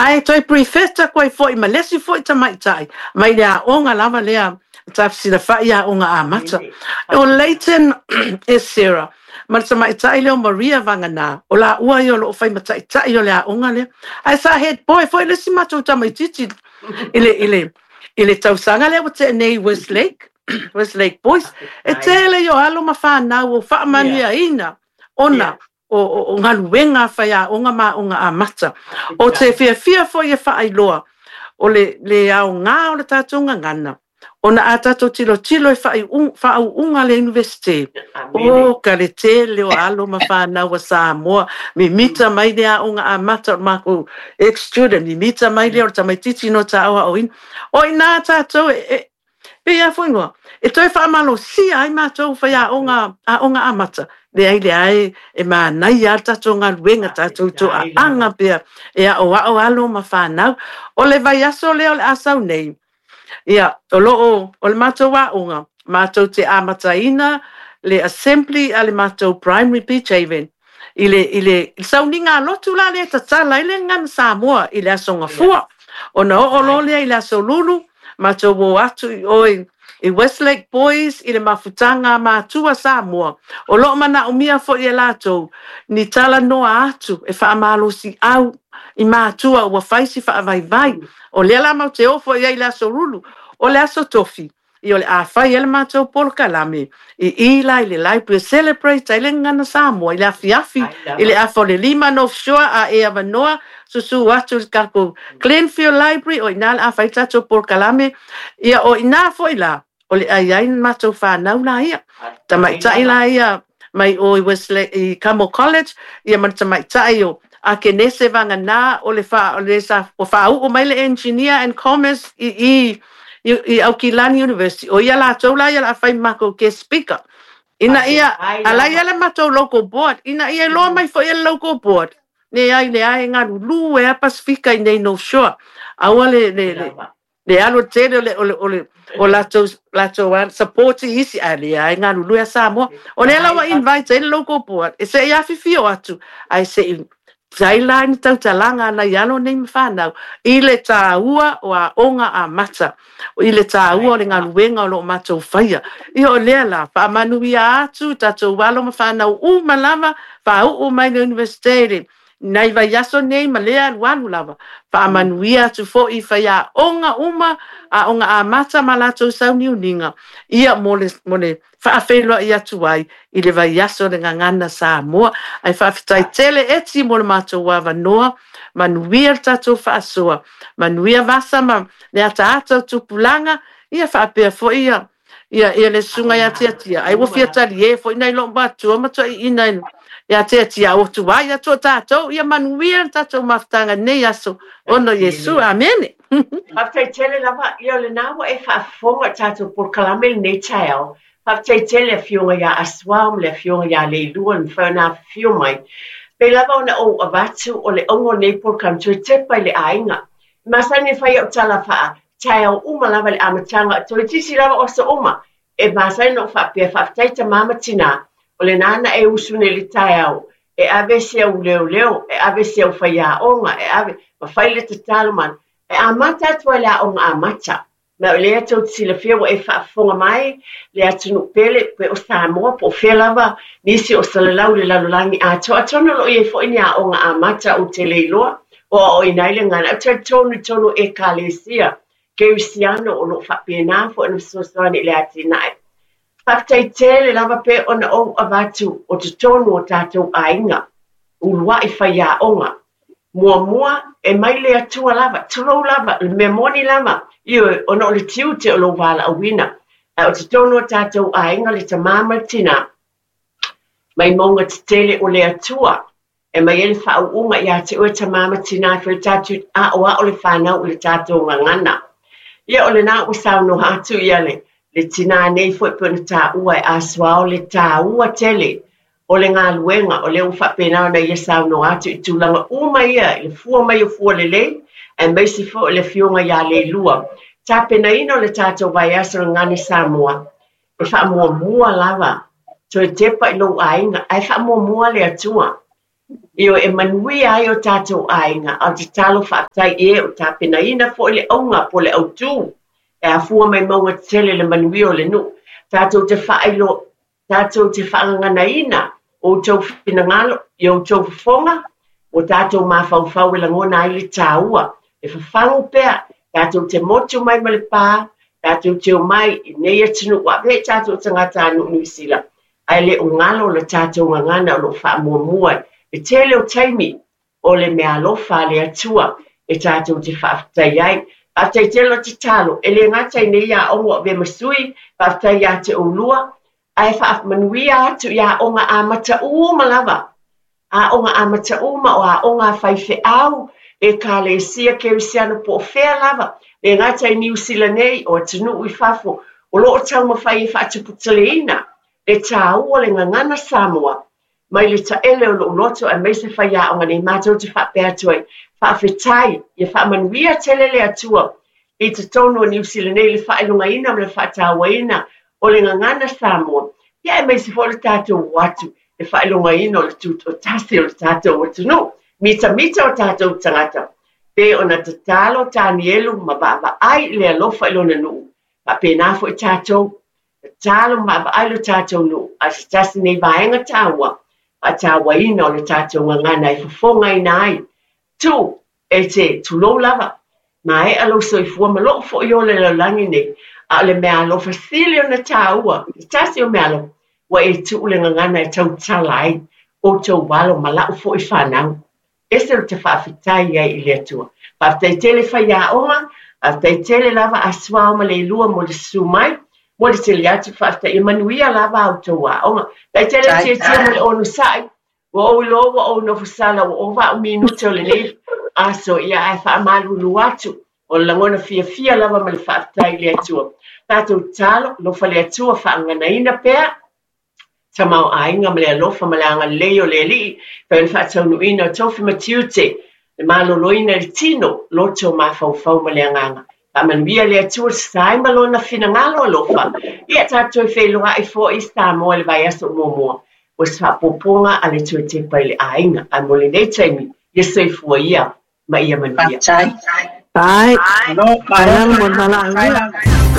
Ae toe prefect atu ai foi ma le isi foi tamaitai mai le aoga lava lea Tafesilafa'i Aoga Amata. O Leighton Esera ma le tamaitai lea o Maria Vagana, o laua ia o lo o fai ma taitai o le aoga lea. Ae sa head boy foi le isi matou tamaitiiti i le tausaga lea ua tea nei i Westlake Boys. E tele i o alo ma fanau o faamanuiaina ona o galuega faiaoga ma aoga amata. O te fiafia foi e faailoa o le aoga o le tatou gagana, ona a tatou tilotilo e faauuga le Iunivesite, o ka le tele o alo ma fanau a Samoa, mimita mai le aoga amata o le makou ex-student, mimita mai lea o le tamaitiiti no taoaoina. O ina tatou e pei a foi ngoa, e toe faamalosia ai matou faiaoga aoga amata. Leai, leai, e manaia lava le tatou galuega, tatou toaaga pea e aoao alo ma fanau. O le vaiaso lea o le a sau nei, ia, o lo o, o le matou aoga, matou te amataina le assembly a le matou primary Beach Haven i le sauniga lotu la le tatala ai le gagana Samoa i le aso Gafua. Ona oo loa lea i le aso Lulu, matou o atu i oi i Westlake Boys i le mafutaga matua Samoa. O lo o manaomia foi e latou ni talanoa atu e faamalosi au i matua ua fai si faavaivai. O lea la matou te o foi ai i le aso Lulu. O le aso Tofi, ia o le a fai ai le matou polokalame i la i le library celebrate ai le gagana Samoa i le afiafi i le 4:55 North Shore a e avanoa susu atu i le tatou Glenfield Library o ina le a fai tatou polokalame. Ia o ina foi la o le ai ai matou fanau la ia. Tamaitai la ia mai o i Westlake i Camel College ia ma le tamaitai o Akenese Vagana o le fa o le sa o faauu mai le Engineer and Commerce i Aukilani University. O ia latou la ia la fai makou guest speaker. Ina ia ala ia le matou local board, ina ia loa mai foi e le local board. Ne ai le ai galulu e a Pasifika i nei North Shore. Aua le alu tele o latou support i isi a le ai galulu e Samoa. O lea la ua invite ai le local board e se i afifio atu ai se i tai la ni tautalaga na i alo nei ma whanau i le tāua o aoga amata i le tāua o le galuega o lo o matou faia. Ia o lea la, faamanuia atu tatou alo ma whanau uma lava, faauu mai le Universite le nai vaiaso nei ma lea alualu lava. Faamanuia atu foi faiaoga uma, aoga amata ma latou sauniuniga, ia mo le faafeiloai atu ai i le vaiaso le gagana Samoa. Ai faafetai tele eti mo le matou avanoa, manuia le tatou faasoa, manuia vasa ma le ataata o tupulaga, ia faapea foi ia le susuga ia Tiatia. Ai ua fia talie foi nai loo matua ma toaiina ia Tiatia o tuai atu o tatou, ia manuia le tatou mafutaga nei aso. Ona Iesu, amene. Faafetai tele lava, ia o lena ua e faafofoga i tatou polokalame lenei taeao. Faafetai tele afioga ia Asuao ma le afioga ia Leilua le mafai ona afifio mai. Pei lava ona ou avatu o le auga o nei polokalame toe tepa i le aiga. E masani e fai au tala faa taeao uma lava le amataga, toeitiiti lava o aso uma. E masani ona ou faapea, faafetai tamā ma tinā, o lena na e usu nei i le taeao, e ave se au leoleo, e ave se au faiaoga, e ave, ma fai le tatalo ma e amata atu ai le aoga amata. Ma o lea tou te silafia ua e faafofoga mai le atunuu pele pe o Samoa po o fea lava nisi o salalau le lalolagi atoa. Atonu o lo o i ai foi ni aoga amata ou te le iloa o aoaoina ai le gagana. Ou te talitonu i totonu o Ekalesia Kerisiano o lo o faapena foi ona fesoasoani i le atinae. Faafetai tele lava pe ona ou avatu o totonu o tatou aiga, uluai faiaoga. Muamua e mai le Atua lava, tulou lava, le mea moni lava, ioe, ona o le tiute o lou valaauina. Ae o totonu o tatou aiga le tamā ma le tinā, mai mauga tetele o le Atua, e mai ai le faauuga ia te oe tamā ma tinā e fai tatou aoao le fanau i le tatou gagana. Ia o lena ua saunoa atu ia le tinā nei foi pe ona taua e Asuao le taua tele o le galuega o lea ua faapena ona ia saunoa atu i tulaga uma ia i le fua mai o fua lelei aemaise foi o le afioga ia Leilua. Tapenaina o le tatou vaiaso le Gagana Samoa, e faamuamua lava toe tepa i lou aiga, ae faamuamua le Atua. Ioe, e manuia ai o tatou aiga, a o le tatalo faafetai i e o tapenaina foi le auga po o le autū e afua mai mauga tetele le manuia o le nuu. Tatou te faailo, tatou te faagaganaina outou finagalo i outou fofoga, ua tatou mafaufau e lagona ai le taua, e fafagu pea, tatou te motu mai ma le pa, tatou te omai i nei atunuu, ua avea i tatou tagatanuu Niu Sila, ae le o galo le tatou gagana o lo o faamuamua i le tele o taimi o le meaalofa a le Atua e tatou te faafetai ai. Faafetai tele o tatalo, e le gata i nei aoga o avea ma sui, faafetai ia te oulua, ae faamanuia atu i aoga amata uma lava. Aoga amata uma o aoga a faifeau, Ekalesia Kerisiano po o fea lava, le gata i Niu Sila nei, o atunuu i fafo, o lo o taumafai e faatuputeleina le taua o le gagana Samoa mai le taele o lou loto aemaise faiaoga nei matou te faapea atu ai, faafetai, ia faamanuia tele le Atua i totonu o Niu Sila nei i le faailogaina ma le faatauaina o le gagana Samoa, ia aemaise foi le tatou o atu le faailogaina o le tutoatasi o le tatou atunuu, mitamita o tatou tagata, pei ona tatalo Tanielu ma vaavaai i le alofa i lona nuu, faapena foi tatou, tatalo ma vaavaai lo tatou nuu, a o se tasi nei vaega taua, faatauaina o le tatou gagana e fofogaina ai. Tuu, e te tulou lava, maea lou soifua ma lou foi ola i le lalolagi nei, a o le meaalofa sili ona taua, se tasi o meaalofa, ua e tuu le gagana e tautala ai outou alo ma lau foi fanau. Ese ou te faafetai ai i le Atua. Faafetai tele faiaoga, faafetai tele lava a Suao ma Leilua mo le susu mai, mo le tele atu faafetai. Ia manuia lava a outou aoga. Faafetai tele le tietie ma le onosai. Ua ou iloa ua ou nofo sala ua ova au minute o lenei aso, ia ae faamalulu atu. O le lagona fiafia lava ma le faafetai i le Atua. Tatou tatalo, alofa le Atua, faagaganaina pea tamaoaiga ma le alofa ma le agalelei o le Alii, pei ona faataunuuina o tofi ma tiute, le maloloina i le tino, loto, mafaufau ma le agaga. Faamanuia le Atua sa ai ma lona finagalo alofa. Ia tatou toe feiloai foi i Samoa i le vaiaso muamua. Ua se faaopoopoga a le toe tepa i le aiga. Ae mo lenei taimi, ia soifua ia ma ia manuia. Faafetai. Bye. Malo, malo.